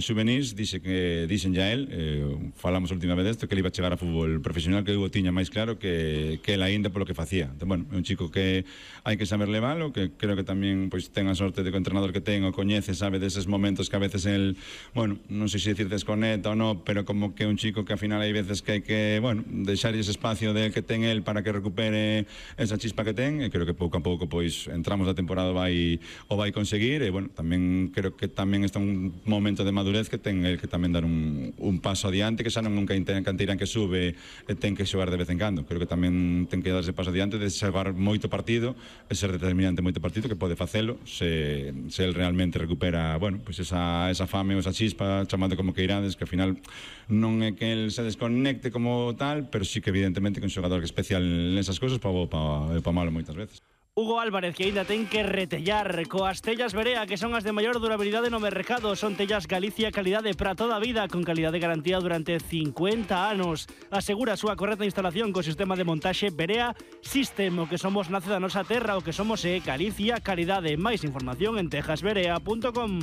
Xuvenís, dixen ya él, falamos a última vez desto, que ele iba a chegar a fútbol profesional, que eu tiña máis claro que el aínda polo que facía. Entón, bueno, é un chico que hai que saber levalo, que creo que tamén pois ten a sorte de que o entrenador que ten o coñece, sabe deses momentos que a veces el, bueno, non sei se decir desconecta ou non, pero como que é un chico que ao final hai veces que hai que, bueno, deixar ese espacio que ten el para que recupere esa chispa que ten, e creo que pouco a pouco pois entramos da temporada o vai conseguir, e bueno, tamén creo que tamén está un momento de madurez que ten el que tamén dar un paso adiante, que xa non nunca canteirán que sube e ten que xogar de vez en cando. Creo que tamén ten que darse paso adiante de xogar moito partido e ser determinante moito partido, que pode facelo se el realmente recupera, bueno, pues esa fame ou esa chispa, chamando como que irades, que ao final non é que el se desconecte como tal, pero sí que evidentemente que un xogador que é especial nesas cousas pa malo moitas veces. Hugo Álvarez, que ainda ten que retellar coas tellas Berea, que son as de maior durabilidade no mercado. Son tellas Galicia, calidade para toda a vida, con calidade de garantía durante 50 anos. Asegura a súa correcta instalación co sistema de montaxe Berea System. O que somos nace da nosa terra, o que somos é Galicia, calidade. Máis información en tejasberea.com.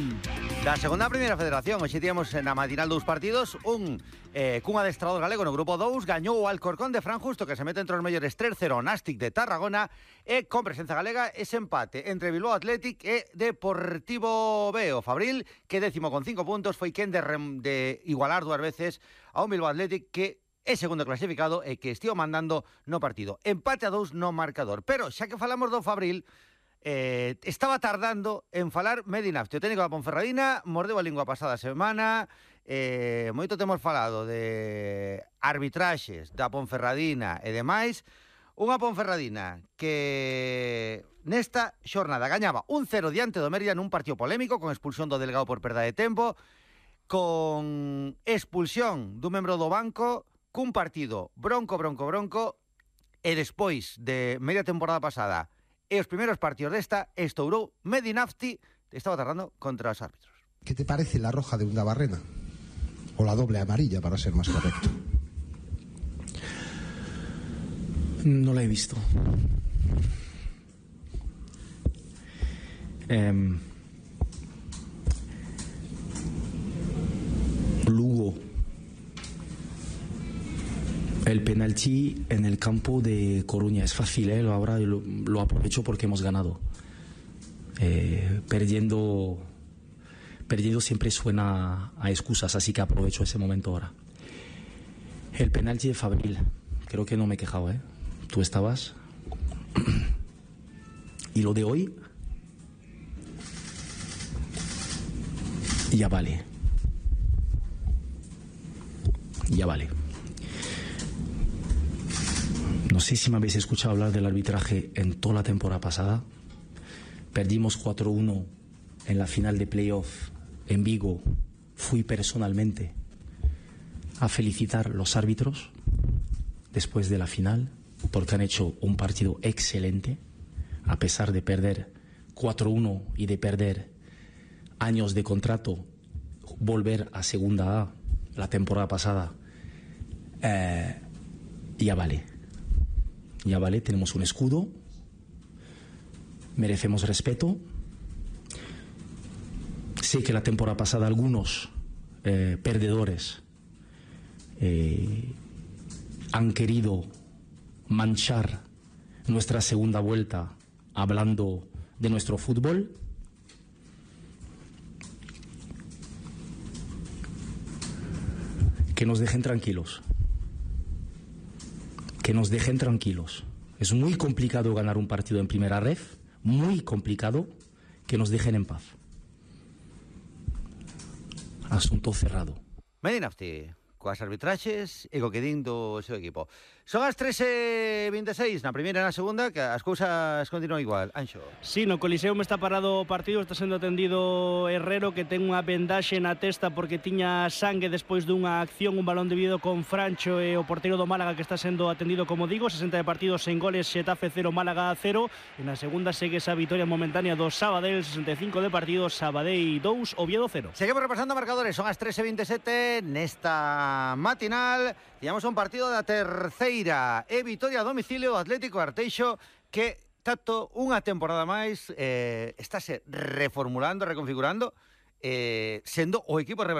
Da segunda a primeira federación, hoxe tíamos na matinal dous partidos, cun adestrador galego no grupo 2, gañou o Alcorcón de Fran Justo, que se mete entre os mellores 3-0 Nástic de Tarragona, e con presenza galega ese empate entre Bilbao Athletic e Deportivo B. O Fabril, que 10º con 5 puntos, foi quen de igualar dúas veces a un Bilbao Athletic que é segundo clasificado e que estivo mandando no partido. Empate a 2 no marcador. Pero xa que falamos do Fabril, estaba tardando en falar Medinafti. O técnico da Ponferradina mordeu a lingua pasada semana. Moito temos falado de arbitraxes da Ponferradina e demais. Unha Ponferradina que nesta xornada gañaba 1-0 diante do Mérida nun partido polémico, con expulsión do Delgado por perda de tempo, con expulsión dun membro do banco, cun partido bronco, e despois de media temporada pasada e os primeiros partidos desta, estourou Medinafti, estaba tardando contra os árbitros. ¿Qué te parece la roja de Undabarrena? O la doble amarilla, para ser más correcto. No la he visto. Lugo. El penalti en el campo de Coruña es fácil, ahora lo aprovecho porque hemos ganado. Perdiendo siempre suena a excusas, así que aprovecho ese momento ahora. El penalti de Fabril, creo que no me he quejado, Tú estabas. Y lo de hoy ya vale. No sé si me habéis escuchado hablar del arbitraje en toda la temporada pasada. Perdimos 4-1 en la final de playoff en Vigo. Fui personalmente a felicitar a los árbitros después de la final, porque han hecho un partido excelente, a pesar de perder 4-1 y de perder años de contrato, volver a Segunda A la temporada pasada. Ya vale, tenemos un escudo, merecemos respeto. Sé que la temporada pasada algunos perdedores han querido manchar nuestra segunda vuelta hablando de nuestro fútbol. Que nos dejen tranquilos. Es muy complicado ganar un partido en primera ref, muy complicado. Que nos dejen en paz. Asunto cerrado. Medinafti, coas arbitraxes e co que din do seu equipo. Son as 13:26, na primeira e na segunda, que as cousas continúan igual. Anxo. Sí, no Coliseum está parado o partido, está sendo atendido Herrero, que ten unha vendaxe na testa porque tiña sangue despois dunha acción, un balón dividido con Francho e o porteiro do Málaga que está sendo atendido, como digo, 60 de partidos sen goles, Xetafe 0, Málaga 0. E na segunda segue esa vitoria momentánea do Sabadell, 65 de partidos, Sabadell 2, Oviedo 0. Seguimos repasando marcadores, son as 13:27 nesta matinal. Tiñamos un partido da terceira e vitoria a domicilio do Atlético Arteixo, que tanto unha temporada máis estáse reformulando, reconfigurando sendo o equipo revelación